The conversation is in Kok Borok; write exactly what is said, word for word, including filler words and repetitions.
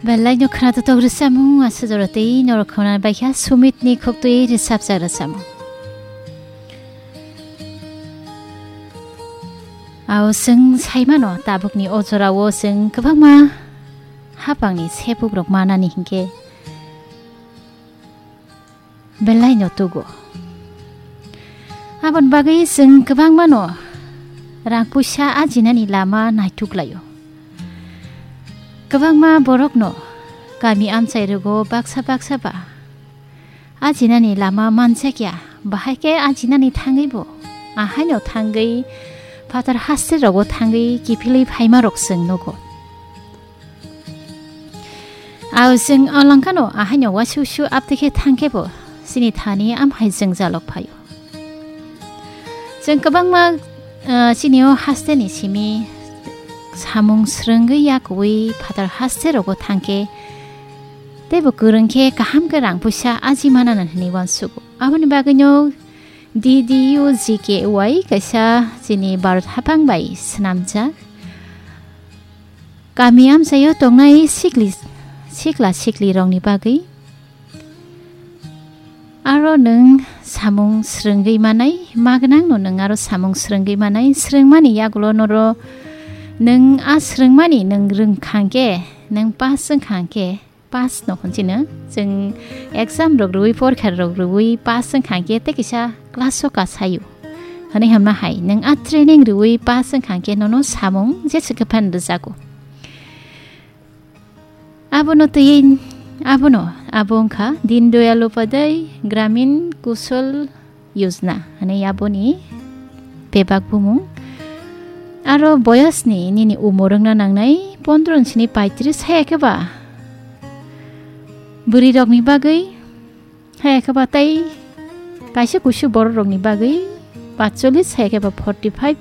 Belai no khwna totok rwchapmung, aswk jora tei norok khwna baikha Sumit ni khok twi rwchapjak rwchapmung. Ao chwng sai mano, tabuk ni o jora o chwng kwbangma hapang ni sepuk rok manani hinkhe belai no tugo. Aboni bagwi chwng kwbangma no rang puisa ajinani lama naituk laio. Kwbangma borok no kami amchai rogo baksa baksa ba ajinani lama manjakya, bahai khe ajinani thangwi bo ahaino thangwi phatar haste rogo thangwi kiphilwi phaima rok chwng nugo. Ao chwng o langkano ahaino wasu su aptwi khe thang khe bo chini thani amhai jwngjalok phaio. Chwng kwbangma, ah, chini o haste ni simi samung swrwngwi yakuwi phatar haste rogo thang khe teibo kwrwng khe kaham khe rang puisa aji manana hinwi uansugo. Aboni bagwino D D U G K Y kaisa chini Bharat haphang bai swnamjak. Kami amchaio tongnai sikli, sikla sikli rokni bagwi aro nwng samung swrwngwi manai, magwnang no nwng aro samung swrwngwi manai, swrwngmani yagulo noro nwng a swrwngmani nwng rwngkhang khe, nwng pass wngkhang khe, pass no hwnchino, chwng exam rok rwui, porkha rok rwui pass wngkhang khe tei kisa class o kasaio. Hwnwi hamna hai, nwng a training rwui pass wngkhang khe nono samung jesa khe phan rwjago. Abono twi, abono, abo wngkha Deen Dayal Upadhyay Gramin Kaushal Yojana, hwnwi aboni bebak bumung. Aro boyosni nini umor wngna nangnai pondro ni sini paitris, haya khe ba bwrwi rokni bagwi, haya khe ba tei kaisa kusu borok rokni bagwi patchollis, haya khe ba forty five